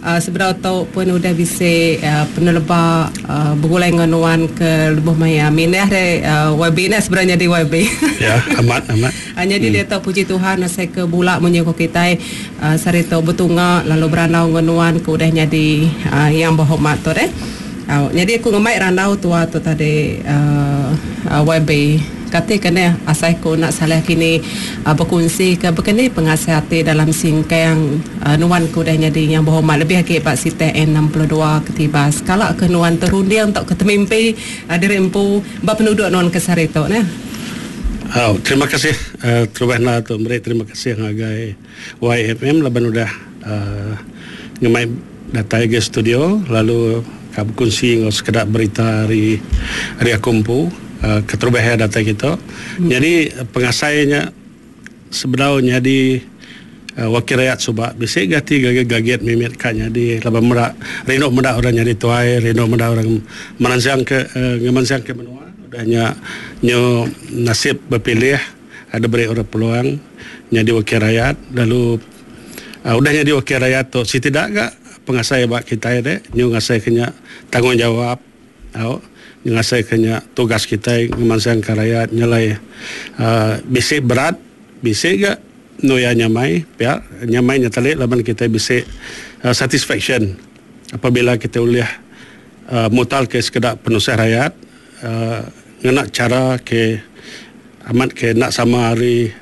Sebedau tu pun udah bisi peneleba begulai enggau nuan ke lebuh maya mindah deh YB nya sebedau nyadi YB. Ya, amat amat. Nyadi diatu puji Tuhan asai ke bula munyi ko kitai sehari tu betunga lalu berandau enggau nuan ke udah nyadi Yang Berhormat tu deh. Nyadi aku ngemai randau tua tu tadi YB. Kati ke neh asai ku enda salah kini bekunsi ke bekeni pengasai ati dalam singkang nuan ke udah nyadi Yang Berhormat lebih agi ba sitak N62 Ketibas. Kala ke nuan terunding tauka temimpi diri empu ba penuduk nuan ke sehari tu neh. Au, terima kasih terubah enda tu meri terima kasih ngagai YFM laban udah ngemai datai agi studio lalu ka bekunsi enggau sekeda berita ari ari aku empu keterubah iya datai kitu. Nyadi pengasai nya sebedau nyadi wakil rayat suba bisi ga ati gagit gagit mimit ka nyadi laban meda rindu meda orang nyadi tuai rindu meda orang meransang ke ngemansang ke menua udah nya nyu nasib bepilih. Ada beri orang peluang nyadi wakil rayat lalu udah nyadi wakil rayat tu siti da ga pengasai ba kitai deh nyu ngasai ke nya tanggungjawab au nyu ngasai ke nya tugas kitai ngemansang ka rayat nyelai uhh bisi berat bisi ga enu iya nyamai pia nyamai nya tali laban kitai bisi satisfaction apabila kitai ulih uhh mutar ke sekeda penusah rayat uhh ngena chara ke Amat ke enda sama ari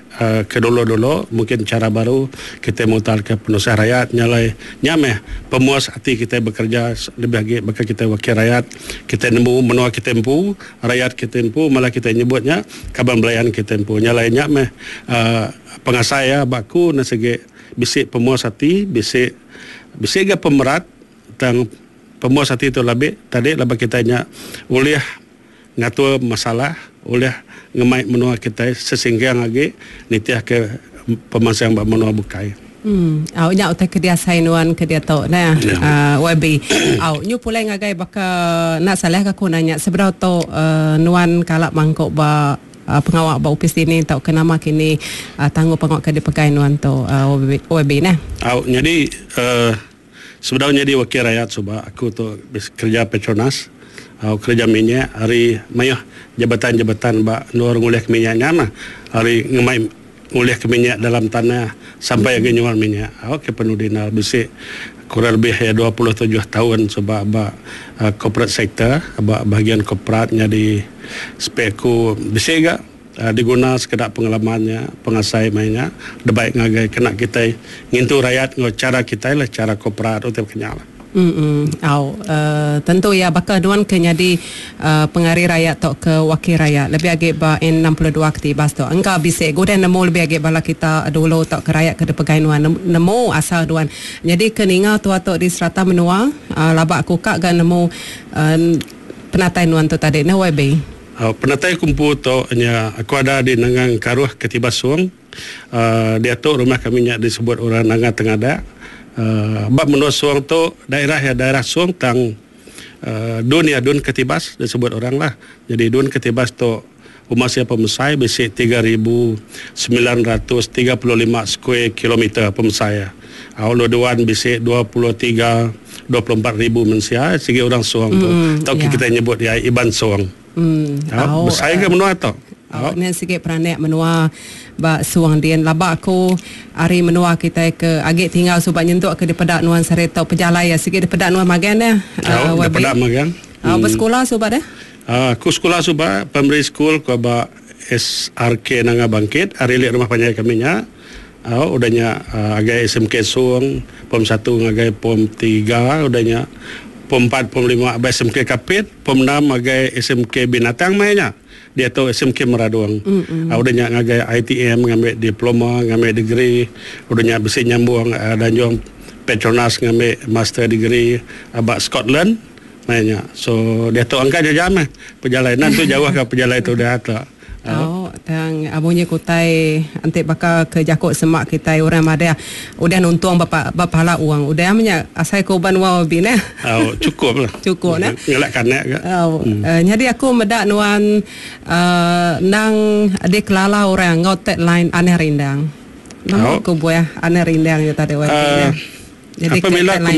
ke dulu-dulu mungkin chara baru kitai mutarka penusah rayat nya alai nya meh pemuas ati kitai bekereja lebih agi baka kitai wakil rayat kitai nemu menua kitai empu rayat kitai empu malah kitai nyebut nya kaban belayan kitai empu nya alai nya meh uhh pengasai iya ba aku ne sigi bisi pemuas ati bisi bisi ga pemerat tang pemuas ati tu labih tadi laban kitai nya ulih Ngatur masalah ulih ngemai menua kitai sesinggang agi nitihka pemansang ba menua bukai. Em au nya utai ke diasai nuan ke diatu neh YB. Au nyu pulai ngagai baka enda salah ka aku nanya sebedau tu nuan kala mangku ba pengawa ba opis dini tauka nama kini tanggung pengawa ke dipegai nuan tu YB neh. Au nyadi uhh Sebedau nyadi wakil rayat suba aku tu kereja Petronas au kereja minyak ari mayuh jabatan-jabatan ba endur ngulihka minyak nya mah ari ngemai ngulihka minyak dalam tanah sampai agi nyual minyak au ke penudi enda bisi kurang lebih iya 27 taun suba ba corporate sector ba bahagian korporat nyadi speku bisi ga. Diguna sekeda pengalaman nya, pengasai maya nya debai ngagai kena kitai ngintu rayat enggau chara kitai lah, chara korporat utai baka nya lah. Em au tentu iya baka nuan ke nyadi pengari rayat tauka wakil rayat lebih agi ba N 62 Ketibas tu engka bisi ga udah nemu lebih agi bala kita dulu tauka rayat ke dipegai nuan nemu asal nuan nyadi ke ninga tua tu di serata menua laba ku ka ga nemu penatai nuan tu tadi neh YB. Penatai aku empu tu nya aku ada di Nanga Engkaruh Ketibas Song. Diatu rumah kami nya disebut orang Nanga Tengadak. Ba menua Song tu daerah iya daerah Song tang dun iya dun Ketibas disebut orang lah. Jadi dun Ketibas tu uma sia pemesai bisi 3935 square kilometer pemesai iya. Au lu duan bisi 23 24 ribu mensia sigi orang Song tu. Tau ke kitai nyebut iya Iban Song. Au besai ga menua tu. Au nya sigi peranak menua ba Song din. Laba aku ari menua kitai ke agi tinggal suba nyentuk ke dipeda nuan sehari tu pejalai iya sigi dipeda nuan magang neh. Au dipeda magang. Au besekula suba deh. Aku sekula suba primary school ko ba SRK Nanga Bangkit ari li rumah panjai kami nya. Au udah nya agai SMK Song pom satu ngagai pom tiga udah nya pom empat pom lima ba SMK Kapit pom enam agai SMK Binatang maya nya diatu SMK Meradong au udah nya ngagai ITM ngambi diploma ngambi degree udah nya bisi nyambung danjung Petronas ngambi master degree ba Scotland maya nya so diatu angka jam jam meh pejalai nan tu jauh ka pejalai tu udah tu. Tau tang munyi ku utai enti baka ke jaku sema kitai orang madah udah nuntung ba ba pala wang udah meh nya asai ku uban wang babi neh. Au chukup lah. Chukup neh. Ngelak kanak ga. Au nyadi aku meda nuan uhh endang dikelala orang enggau tagline Anih Rindang. Nama ku buah Anih Rindang nya tadi wai neh. Jadi apabila aku.